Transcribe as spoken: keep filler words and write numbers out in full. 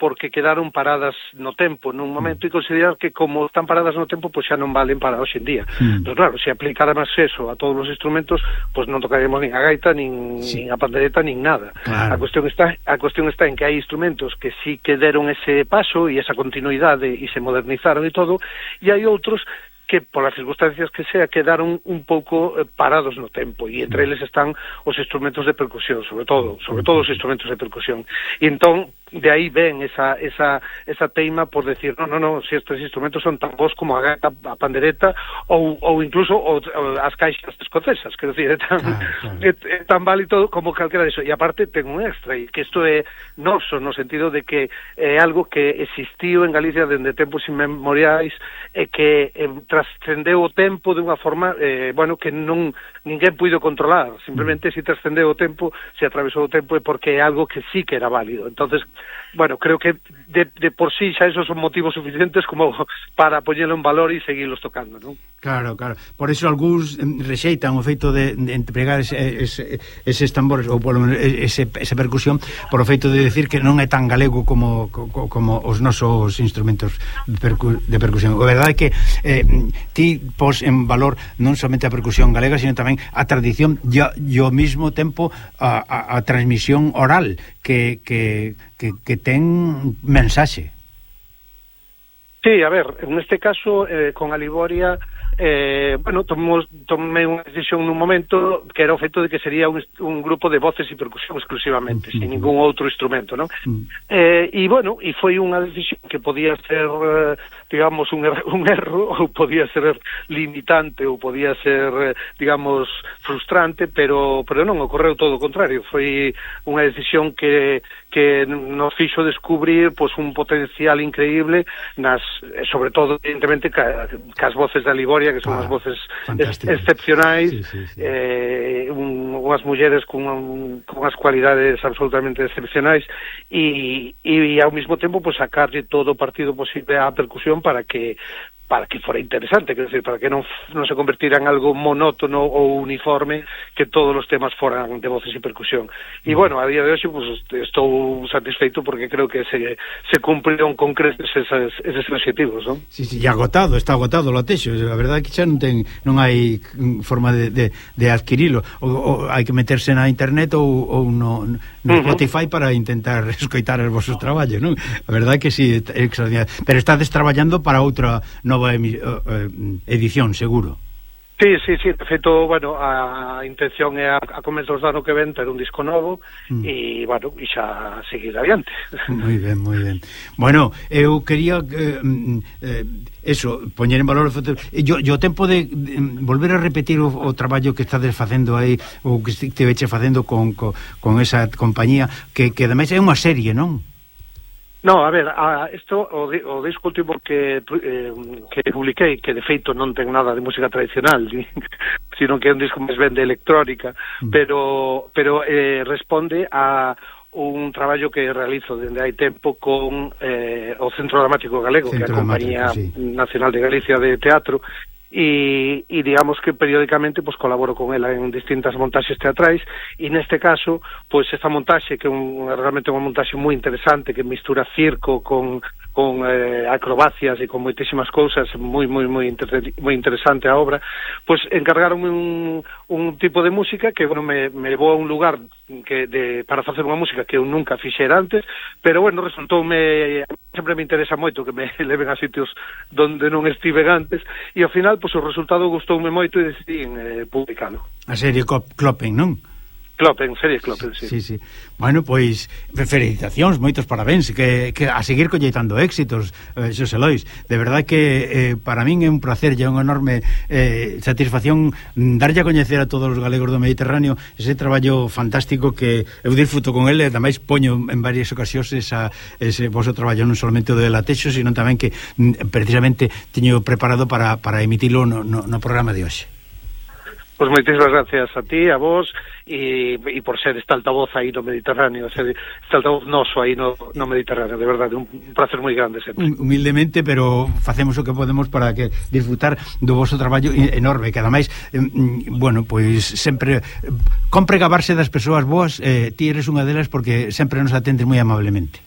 porque quedaron paradas no tempo nun momento e considerar que como están paradas no tempo pois xa non valen para hoxe en día. Mm. Pero claro, se aplicáramos eso a todos os instrumentos, pois non tocaremos nin a gaita, nin, sí. nin a pandereta, nin nada. Claro. A cuestión está a cuestión está en que hai instrumentos que sí que deron ese paso e esa continuidade e se modernizaron e todo, e hai outros que, por as circunstancias que sea, quedaron un pouco eh, parados no tempo, e entre eles están os instrumentos de percusión, sobre todo, sobre todo os instrumentos de percusión. E entón, de aí ven esa, esa, esa teima por decir, no, no, no, si estes instrumentos son tan bons como a gaita, a pandereta, ou, ou incluso o, o, as caixas escocesas, quero dicir, é tan, ah, claro. é, é tan válido como calquera de eso. E aparte, ten un extra, e que isto é noso, no sentido de que é algo que existiu en Galicia dende tempos inmemoriais, e que eh, trascendeu o tempo de unha forma, eh, bueno, que non ninguén puido controlar, simplemente mm. se trascendeu o tempo, se atravesou o tempo, é porque é algo que sí que era válido. Entonces, bueno, creo que de, de por sí xa esos son motivos suficientes como para poñelo en valor e seguirlos tocando, non? Claro, claro. Por eso algúns rexeitan o feito de, de empregar ese, ese, eses tambores ou polo menos ese, esa percusión por o feito de decir que non é tan galego como, como, como os nosos instrumentos de, percu, de percusión. A verdade é que eh, ti pos en valor non somente a percusión galega, sino tamén a tradición e ao mesmo tempo a, a, a transmisión oral que, que, que, que ten mensaxe. Sí, a ver, en este caso eh, con a Liboria eh, bueno, tomamos, tomé unha decisión nun momento que era o feito de que sería un, un grupo de voces e percusión exclusivamente, uh-huh. sin ningún outro instrumento, non? Uh-huh. Eh, e bueno, e foi unha decisión que podía ser, eh, digamos, un, er un erro, ou podía ser limitante, ou podía ser, eh, digamos, frustrante, pero pero non, ocorreu todo o contrario. Foi unha decisión que que nos fixo descubrir pois, un potencial increíble nas, sobre todo, evidentemente, ca, cas voces da Liboria, que son ah, as voces ex excepcionais, sí, sí, sí. Eh, un, unhas mulleres con, un, con unhas cualidades absolutamente excepcionais, e, e ao mesmo tempo pues, sacarlle todo o partido posible á percusión para que para que fora interesante, quer decir, para que non, non se convertira en algo monótono ou uniforme, que todos os temas foran de voces e percusión. E, bueno, a día de hoxe, pues, estou satisfeito porque creo que se, se cumpriron con creces eses, eses objetivos, non? Sí, sí, e agotado, está agotado o latexo, a verdade é que xa non ten, non hai forma de, de, de adquirilo, ou, ou hai que meterse na internet ou, ou no, no uh-huh. Spotify para intentar escoitar os vosos traballos, non? A verdade é que sí, é extraordinario. Pero estades traballando para outra nova edición, seguro. Sí, sí, sí, de feito, bueno, a intención é a, a comezos do ano que ven ter un disco novo mm. e, bueno, e xa seguir adiante. Moi ben, moi ben. Bueno, eu quería eh, eh, eso, poñer en valor yo, yo tempo de, de volver a repetir o, o traballo que estades facendo aí, ou que esteveche facendo con, con, con esa compañía que, que ademais é unha serie, non? No, a ver, a, esto, o, di, o disco último que, eh, que publiquei, que de feito non ten nada de música tradicional, sino que é un disco máis ben de electrónica, mm. pero pero eh, responde a un traballo que realizo dende hai tempo con eh, o Centro Dramático Galego, Centro que é a Compañía sí. Nacional de Galicia de Teatro, e, e digamos que periódicamente pues, colaboro con ela en distintas montaxes teatrais, e neste caso pues, esta montaxe que é un, realmente unha montaxe moi interesante que mistura circo con, con eh, acrobacias e con moitísimas cousas, moi moi moi inter moi interesante a obra, pues encargaronme un, un tipo de música que bueno, me, me levou a un lugar que de, para facer unha música que eu nunca fixera antes, pero bueno, resultoume, sempre me interesa moito que me leven a sitios donde non estiven antes, e ao final pois o resultado gustoume moito e decidí en eh, publicalo. A serie Kloppen, non? Kloppen, serie Kloppen, sí. Sí, sí. Bueno, pois, felicitacións, moitos parabéns, que, que a seguir colleitando éxitos, eh, Xosé Lois. De verdade que eh, para min é un placer e unha enorme eh, satisfacción darlle a coñecer a todos os galegos do Mediterráneo ese traballo fantástico que eu disfruto con ele, e tamén poño en varias ocasións esa, ese vosso traballo non solamente do de Latexo, sino tamén que precisamente teño preparado para, para emitilo no, no, no programa de hoxe. Pois pues moitísimas gracias a ti, a vos, e, e por ser este altavoz aí no Mediterráneo, ser este altavoz noso aí no, no Mediterráneo, de verdade, un placer moi grande sempre. Humildemente, pero facemos o que podemos para que disfrutar do vosso traballo enorme, que ademais, eh, bueno, pois sempre compre gabarse das persoas boas, eh, ti eres unha delas porque sempre nos atendes moi amablemente.